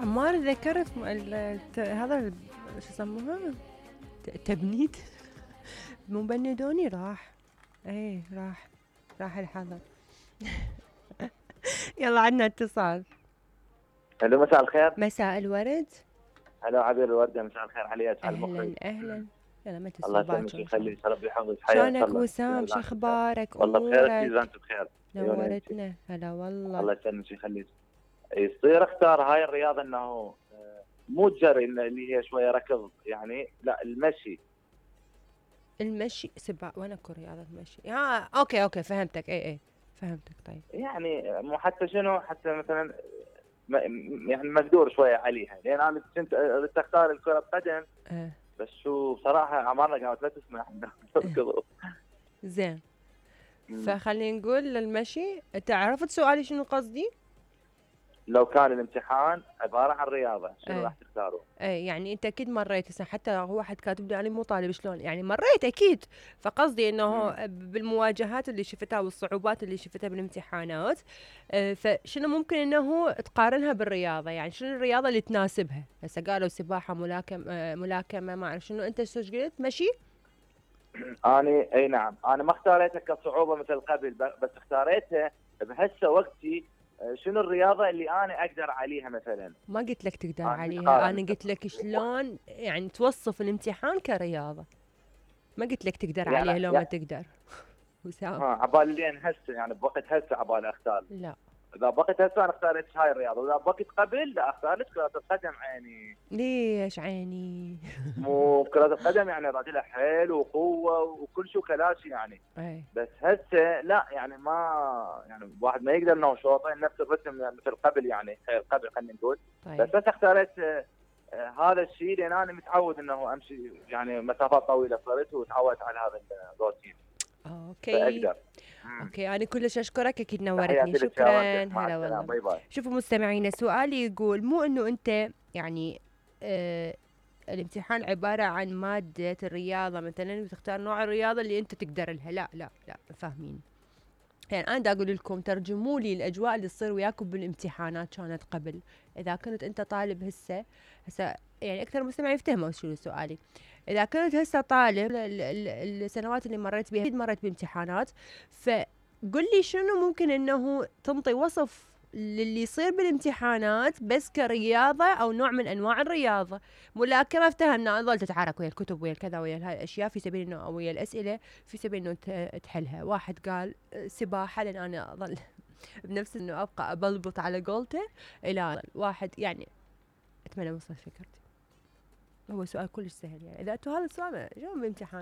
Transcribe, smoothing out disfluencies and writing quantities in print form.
عمار ذكرت هذا شو يسموها تبنيد مو بندوني راح. ايه راح الحضر. يلا عندنا اتصال. الو مساء الخير. مساء الورد. هلا عبير الوردة، مساء الخير عليك على المخرج. اهلا يلا ما الله تسوي يسلمك باكر. ويخليك، ربي يحفظك، حياك شلونك الله. وسام؟ شو اخبارك؟ والله بخير، امورك؟ اذا انت بخير. نورتنا. هلا والله. الله يسلمك ويخليك. يصير اختار هاي الرياضه انه مو الجري اللي هي شويه ركض يعني، لا المشي سباق وين اكو رياضه مشي؟ اوكي فهمتك. اي فهمتك. طيب يعني مو حتى شنو، حتى مثلا يعني مقدور شويه عليها، لان انا كنت اختار الكره بقدم. بس شو بصراحه عمرنا قامت لا تسمح نركض. زين. فخلينا نقول للمشي. انت عرفت سؤالي شنو قصدي؟ لو كان الامتحان عباره عن رياضه شنو راح تختاروا؟ يعني انت اكيد مريت هسه، حتى هو واحد كاتب لي انا مو طالب شلون يعني مريت اكيد. فقصدي انه بالمواجهات اللي شفتها والصعوبات اللي شفتها بالامتحانات، فشنو ممكن انه تقارنها بالرياضه؟ يعني شنو الرياضه اللي تناسبها؟ هسه قالوا سباحه، ملاكمه ما اعرف شنو. انت شو قلت؟ مشي؟ اني اي نعم، انا ما اختاريتها كصعوبه مثل قبل، بس اختاريتها بهسه وقتي. شنو الرياضه اللي انا اقدر عليها مثلا؟ ما قلت لك تقدر عليها، انا قلت لك شلون يعني توصف الامتحان كرياضه. ما قلت لك تقدر يعني عليها لو ما تقدر. وسام عبالي لين هسه يعني بوقت هسه عبالي اختار. لا اذا بوقت هسه انا اختاريت هاي الرياضه، واذا بوقت قبل لا اختارت كره القدم. عيني ليش عيني؟ مو كره القدم يعني راجلها حيل وقوه وكل شو كلاشي يعني. بس هسه لا يعني ما يعني واحد ما يقدر انه شوطين نفس الرتم يعني مثل قبل يعني خير قبل خلينا نقول. بس اختاريت هذا الشيء لان انا متعود انه امشي يعني مسافات طويله صرت وتعودت على هذا الروتين. اوكي فاقدر. اوكي انا كلش اشكرك، اكيد نورتني. شكرا. هلا والله. باي باي. شوفوا مستمعينا، سؤالي يقول مو انه انت يعني الامتحان عباره عن ماده الرياضه مثلا وتختار نوع الرياضه اللي انت تقدر لها. لا فاهمين. يعني انا دا اقول لكم ترجموا لي الاجواء اللي تصير وياكم بالامتحانات كانت قبل. اذا كنت انت طالب هسه يعني اكثر مستمعين يفتهموا شنو سؤالي. اذا كنت هسه طالب السنوات اللي مريت بها اكيد مريت بامتحانات، فقل لي شنو ممكن انه تنطي وصف للي يصير بالامتحانات بس كرياضه او نوع من انواع الرياضه. ملاكمه افتهمنا، ظل تتحرك ويا الكتب ويا الكذا ويا هاي الاشياء في سبيل انه ويا الاسئله في سبيل انه تحلها. واحد قال سباحه لان انا اظل بنفس انه ابقى ابلبط على قولته. الى واحد يعني اتمنى وصل فكرتي. هو سؤال كلش سهل يعني، اذا انتم هذا السؤال جو بامتحان